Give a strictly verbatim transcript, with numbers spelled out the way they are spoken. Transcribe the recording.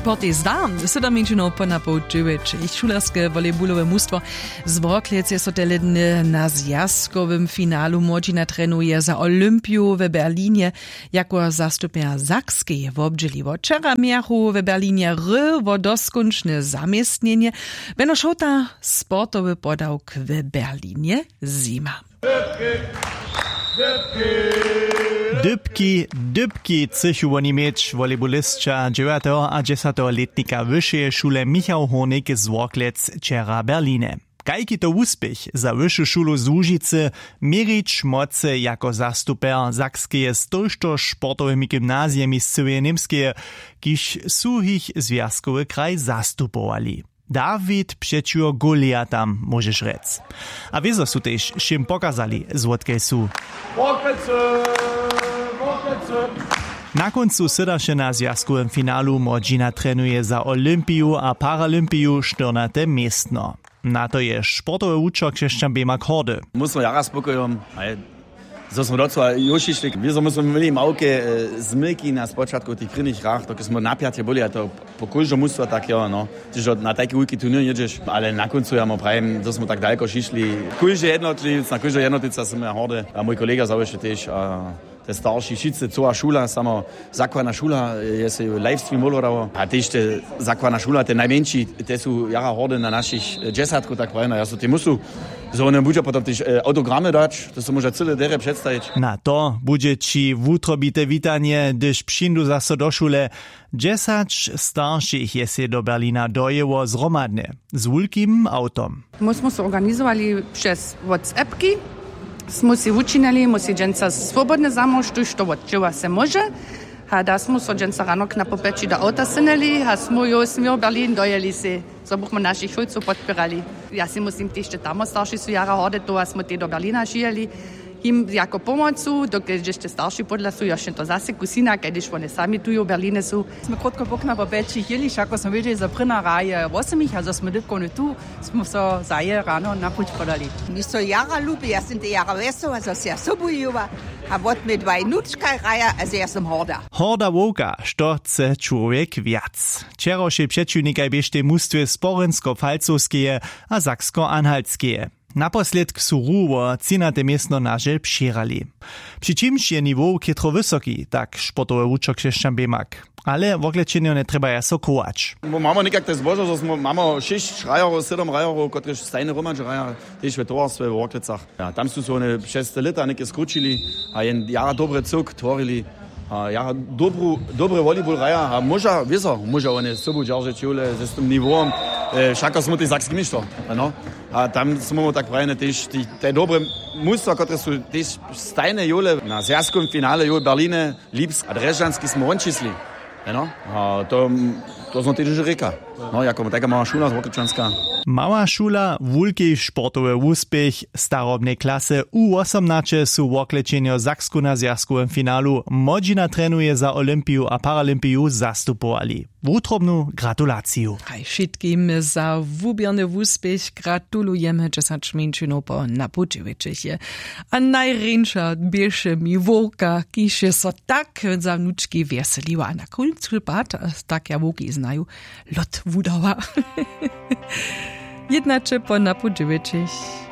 Portej zda, sydomminčinow ponapoł dźewjećich šulerske volejbulowe mustwo z worklec je so teledny na zwjazkowym finalu młodźina trenuje za olympiju w berlinje. Jako zastupnja sakskeje wobdźěliło wčera mějachu w berlinje ry wo doskónčne zaměstnjenje. Beno šołta, sportowy podawk w berlinje zima. Dypki dypki chcychu woni měć volejbulisća dźewjateho a dźesateho lětnika wyšeje šule michał hórnik z worklec wčera berline. Kajki to wuspěch za wyšu šulu z łužicy, měrić mocy jako zastuper sakskeje z tójšto sportowymi gymnazijemi z cyłeje němskeje, kiž su jich zwjazkowy kraj zastupowali. Dawid přećiwo goliatam móžeš rjec. A wězo su tež wšěm pokazali, zwótkaj su. Na kóncu sydaše na zwjazkowym finalu młodźina trenuje za olympiju a paralympiju štyrnate městno. Na to je sportowy wučer křesćan běmak hordy. Mój smy jara spokojom. Zo smy docyła jóšišli wězo my smy měli małke zmylki na spočatku w tych prěnich hrach dokelž smy napjatje byli a to po kóždom mustwa tak jo no. Tyž na tajki wulki turněr njědźeš ale na kóncu ja mu prajim zo smy tak daleko šišli. Kóždy jednotliwc na kóždeho jednotliwca smy ja hordy a mój kolega zawěsće tež a te starši wšitcy cyła šula samo zakładna šula je sej livestream wolodało a tež te zakładna šula te najmjeńši te su jara hordy na našich dźesatkow tak prajena ja su te musu zo wone budźa potom tež autogramy dać. To so móža cyle derje předstajić. Na to budźe ći wutrobite witanje hdyž přińdu zaso do šule. Dźesać staršich je sej do berlina dojěło zhromadnje z wulkim awtom. My smy so organizowali přez whatsappki, smy sej wučinili my sej dźensa swobodnje zamož tuž to wotdźěła se móže. A da smy so dźensa rano knapopjeći do awta synili a smy jo směr berlin dojěli sej zo bychmy našich šulcow podpěrali. Ja sej muslim tež te tamostarši su jara hordy towa smy tej do berlina šijeli jim jako pomocu dokelž dźešte starši pódla su jošće to zase kusina kaž hdyž wone sami tujo w berlinje su. Smy krótko poknapopjeći jěli wšako smy wědźeli zo prěna hraje wosomich a zo smy dypkowny tu smy so zaje rano na puć podali. Mi so jara lubi ja sym te jara wjesoła zo sej ja sobu jowa. A wot mej dwaj nučkaj hraja a zo ja sym horda. Horda wowka što chce čłowjek wjac? Wčerawšej přećiwnikaj běštej mustwje sporinsko falcowskeje a saksko anhaltskeje. Naposledk su ruwowo třinate městno na žel přěhrali. Při čimž je niwow chětro wysoki tak sportowy wučer křesćan běmak. Ale woklećenjo njetrjebaja so chować. Mamy někak te zbožo zo mamy šěsć hrajerjow sydom hrajerjow kotrež stajnje hromadźe hraja tež w towarstwje w worklecach. A tam su se wone přez te lěta něke skrućili a jen jara dobry cyłk tworili. A jara dobry volleyball hraja a móža wězo móža wone sobu dźeržeć jowle z tym niwowom. Wšako smy tej sakski měšto. A tam smy tak prajene tež te dobre mustwa kotrež su tež stajnje jowle na zwjazkowym finale jow w berlinje. Lipsk a drježdźanski smy won čisli. Eno. A to to znoj tež rěka. No jako tajka mała šula z wokryčanska. Mała šula wulki sportowy wuspěch starobnej klasy u wosomnaće su worklećenjo sakskuna zwjazkowym finalu młodźina trenuje za olympiju a paralympiju zastupowali. Wutrobnu gratulaciju. Haj wšitkim za wuběrny wuspěch gratulujemy dźesać mjeńšinow po napołdźewjećich je. A najrjeńša běše mi wowka kiž je so tak za wnučki wjeseliła a na kóncu pad tak ja wowki znaju lot wudała. Jědnaće po napołdźewjećich.